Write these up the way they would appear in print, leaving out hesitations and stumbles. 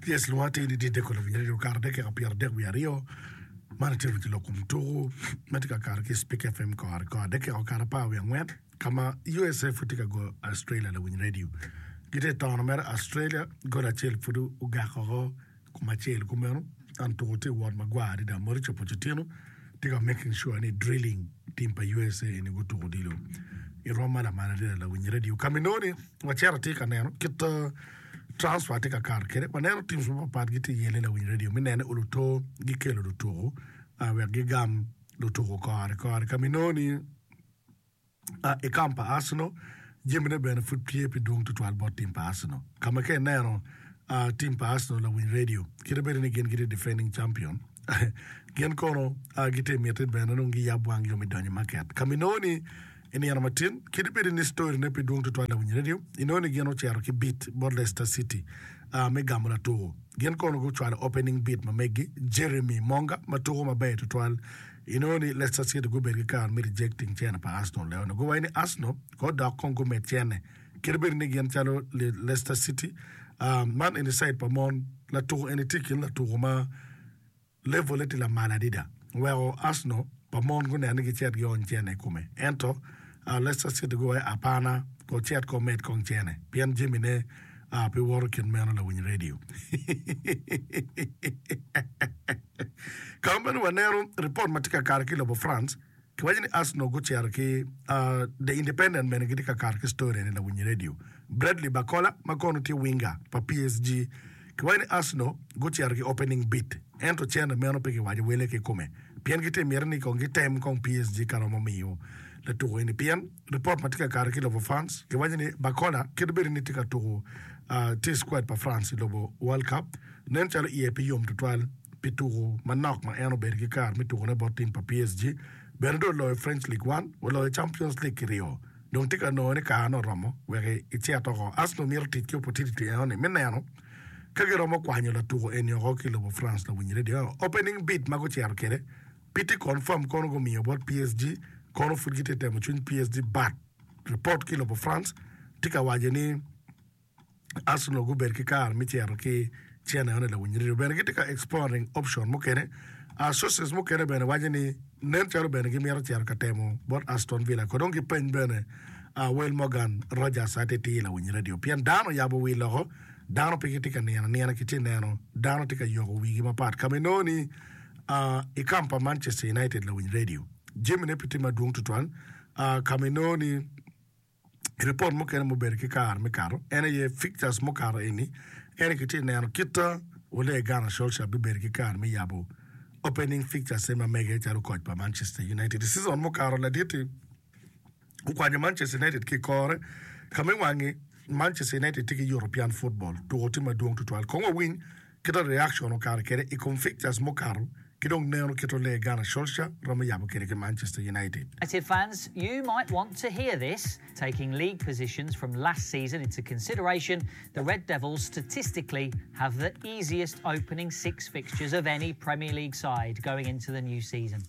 Yes, lwonga atir ni Dideko Lawiny Radio okato dakika 32 man atye winyo lok kom tuku ma tye ka kato ki Spik FM kore kore dakika okato 14 ka ma USA pud tye ka goyo Australia Lawiny Radio gitye tono mere Australia gol acel pud ogak oko Kom acel kumeno, an tuko tye wot magwar adada. Mauricio Pochettino tye ka making sure ni drilling team pa USA eni gutuko odilo i rwom ma lamal adada lawiny radio. Ka ma inongo ni wacito atir ka neno kit transfer tye ka kato kwede, waneno teams mapat pat gitye yele lawiny radio me nene oluto gikelo lutuko wek gigam lutuko kore kore. Ka ma inongo ni I kam pa Arsenal, jamine bene pud tye pi dwong tutwal bot tim pa Arsenal. Ka ma ka ineno tim pa Arsenal lawiny radio, kite bedo ni gin gitye defending champion, gin kono gitye i miti bene dong giyab wang yo me donyo i market. Ka ma inongo ni i nino matin, kite bedo ni story ne pi dwong tutwal lawiny radio, inongo ni gin ocito ki bid bot Leicester City me gamo latuko. Gin kono gucwalo opening bid ma meggi, Jeremy Monga ma tuko maber tutwal. Inongo ni Leicester City gubedo ki kare me rejecting cene pa Arsenal leo ni guwaco ni Arsenal ko dok kong gumed cene kadi bed ni gin calo Leicester City man eni side pa mon latuko eni tye ikin latuko ma level ne tye lamal adada oweko Arsenal pa mon guneno ni gicit giony cene ikome ento Leicester City guwaco apana ko cet ko med kong cene pien jami ne pe woto kit meno lawiny radio. Ka ma bene waneno ripot ma tye ka kato ki i lobo France, kiwaco ni Arsenal gucito ki The Independent bene gitye ka kato ki story eni lawiny radio. Bradley Barcola ma kono tye winger pa PSG kiwaco ni Arsenal gucito ki opening bid ento cente meno pe kiwaco wele kikome pien gitye miti ni kong gitem kong PSG ka romo miyo latuko eni pien ripot ma tye ka kato ki i lobo France kiwaco ni Barcola kit bedi ni tye ka tuko tye i squad pa France i lobo World Cup Nen calo iye pe yom tutwal pi tuko manok ma en obedo ki kare me tukone bot tim pa PSG. Bene dong oloyo French Ligue One, oloyo Champions League kiryo. Dong tye ka nongo ni karene oromo wek ecit oko. Arsenal mito tic ki opportunity enoni me neno ka giromo kwanyo latuko eni oko ki i lobo France lawiny radio. Opening bid ma gucito kwede pe tye confirm kono gumiyo bot PSG kono pud gitye ka temo cwiny PSG but report ki i lobo France tye ka waco ni Arsenal gubedo ki kare me cito ki cene eno lawiny radio bene gitye ka exploring option mukene. Sources mukene bene waco ni nen calo bene gimito cito ka temo bot Aston Villa ko dong gipeny bene Will Morgan Rogers atitir lawiny radio pien dano oyabo wi loko dano pe gitye ka nino anina kitye neno dano tye ka yoko wigi mapat ka ma inongo ni i camp pa Manchester United lawiny radio jamine pe tye madwong tutwal ka ma inongo ni Ripot mukene mubedo ki kare me kato en aye fixtures mukato eni ento kitye neno kita Ole Gunnar Solskjaer bibedo ki kare me yabo opening fixtures ma mege calo koc pa Manchester United. I season mukato ladit-ti okwanyo Manchester United ki i kore ka me wangi Manchester United tye ki European football tuko tye madwong tutwal. Kong wawiny Kit reaction okato kwede i kom fixtures mukato ki dong neno kit Ole Gunnar Solskjaer romo yabo kwede ki Manchester United. United fans, you might want to hear this, taking league positions from last season into consideration, the Red Devils statistically have the easiest opening 6 fixtures of any Premier League side going into the new season.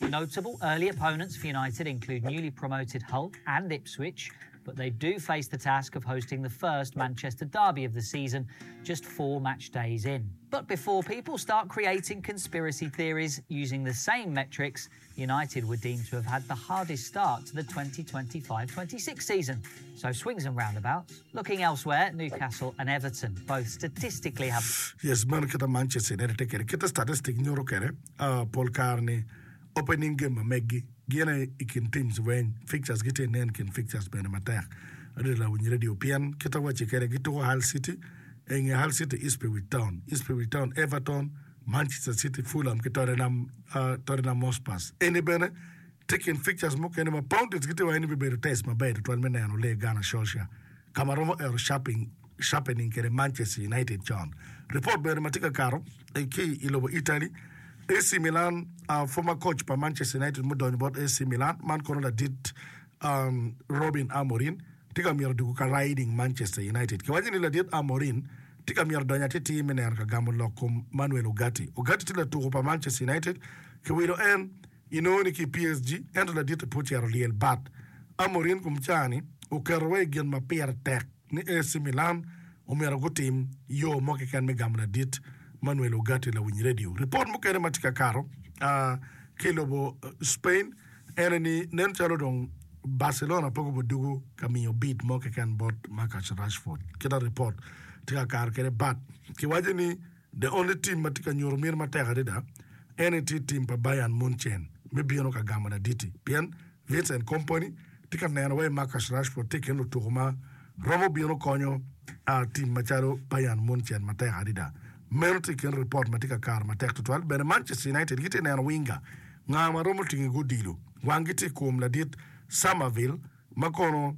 Notable early opponents for United include newly promoted Hull and Ipswich, but they do face the task of hosting the first Manchester derby of the season just 4 match days in. But before people start creating conspiracy theories using the same metrics, United were deemed to have had the hardest start to the 2025-26 season. So swings and roundabouts. Looking elsewhere, Newcastle and Everton both statistically have Yes, meno kita Manchester United tye kwede. Kita statistic nyuto kwede pol kare ni opening game ma meggi gin aye i kin teams weng fixtures gitye nen kin fixtures bene matek adada lawiny radio pien kita wacci kwede gituko Hull City inge Hull City Ipswich Town, Ipswich Town Everton, Manchester City, Fulham ki Tottenham, Tottenham Hotspurs. Eni bene tye kin fixtures mukene ma Pounders gitye waco ni bibedo test maber tutwal me neno Ole Gunnar Solskjaer ka ma romo ero sharping sharpening kwede Manchester United con. Ripot bene ma tye ka kato ki i lobo Italy, AC Milan, former coach pa Manchester United mudonyo bot AC Milan, man kono ladit Robin Amorim tye ka myero dwogo ka riding Manchester United. Kiwaco ni ladit Amorim tye ka myero donyo atitir me neno ka gamo lok kom Manuel Ugarte. Ugarte tye latuko pa Manchester United, kiwilo en inongo ni ki i PSG ento ladit-ti pe ocito lyel bat. Amorim kom caa-ni oketo wa i gin ma pire tek ni AC Milan. omyero gutim yo mo keken me gamo ladit Manuel Ugarte lawiny redio. Ripot mukene ma tye ka kato ki i lobo Spain ene ni nen calo dong Barcelona pe gubedo dugu ka miyo bid mo keken bot Marcus Rashford. Kita ripot tye ka kato kwede but kiwaco ni the only team ma tye ka nyuto miti matek adada ene tye team pa Bayern Munchen me bino ka gamo laditi pien Vincent Kompany tye ka neno wai Marcus Rashford tye i kin lutuku ma romo bino konyo tim macalo Bayern Munchen matek adada. Meno tye i kin ripot ma tye ka kato matek tutwal. Bene Manchester United gitye ka neno winga nga ma romo tingo i odilo. Wanggi tye i kom ladit Summerville ma kono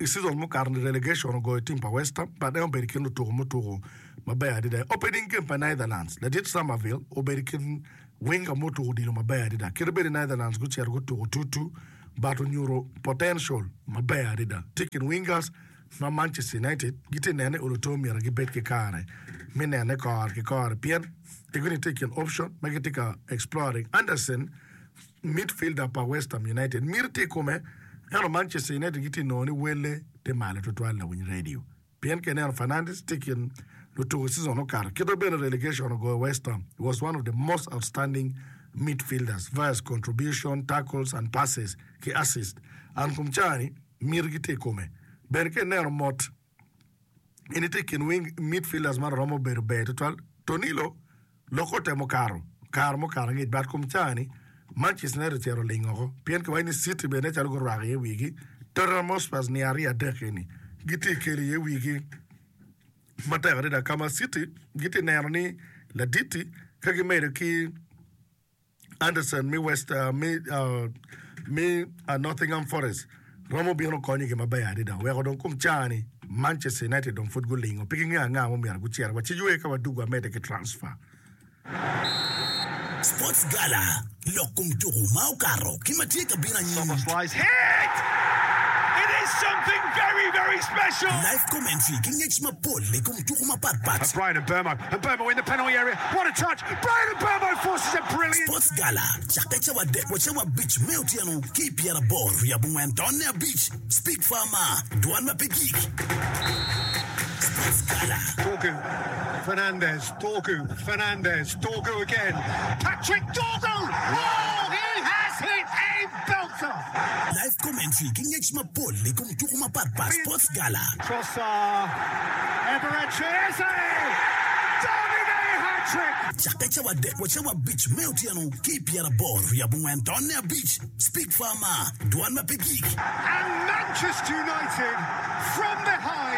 I season mukato-ni relegation ogoyo team pa West Ham but en obedo i kin lutuku mutuku maber adada. I opening game pa Netherlands, ladit Summerville obedo i kin winger mutuku odilo maber adada. Kadi bed ni Netherlands gucito gutuku 2-2 but onyuto potential maber adada. Tye i kin wingers ma Manchester United gitye nene ni oluto myero gibed ki kare me nene kore ki kore pien egoni tye i kin option ma gitye ka exploring. Andersen Midfielder pa West Ham United miti tye i kome, ento Manchester United gitye ka nongo ni welle tye malo tutwal lawiny radio pien ka ineno Fernandes tye i kin lutuku i season okato kite bene relegation ogoyo West Ham he was one of the most outstanding midfielders via contribution, tackles and passes ki assist and kom caa-ni mitigi tye i kome bene ka ineno mot En tye i kin wing midfielders ma romo bedo ber tutwal. Tonilo lok otemo kato kare mukato angec but kom caa-ni Manchester United ocito oling oko pien kiwaco ni City bene nen calo gurwako iye wigi. Tottenham Hotspurs niang aryo adek eni gitye ka kelo iye wigi matek adada ka ma City gitye ka neno ni ladit-ti ka gimedo ki Anderson me West me me Nottingham Forest romo bino konyogi maber adada weko dong kom caa-ni Manchester United dong pud gulingo pe gingeyo anga ma omyero gucit wa ci ywe ka wadug wamedde ki transfer. Sports Gala, Lok kom tuku ma okato ki ma tye ka bino anyim. Live commentary ki ngec mapol i kom tuku mapat pat. Sports Gala cakke cawa adek wa cawa abic me otyeno ki i pyeraboro wiye abongwen tonne abic. Speak Farmer, Dwan ma pe gik. Sports Gala. Dorgu, Fernandes, Dorgu, Fernandes, Dorgu again, Patrick Dorgu! Oh, he has hit a belter! Live commentary ki ngec mapol i kom tuku mapat pat. Sports Gala. Trossard, Eberechi Eze! Davide hat-trick! Cakke cawa adek wa cawa abic me otyeno ki i pyeraboro wiye abongwen tonne abic. Speak Farmer, Dwan ma pe gik. And Manchester United from behind.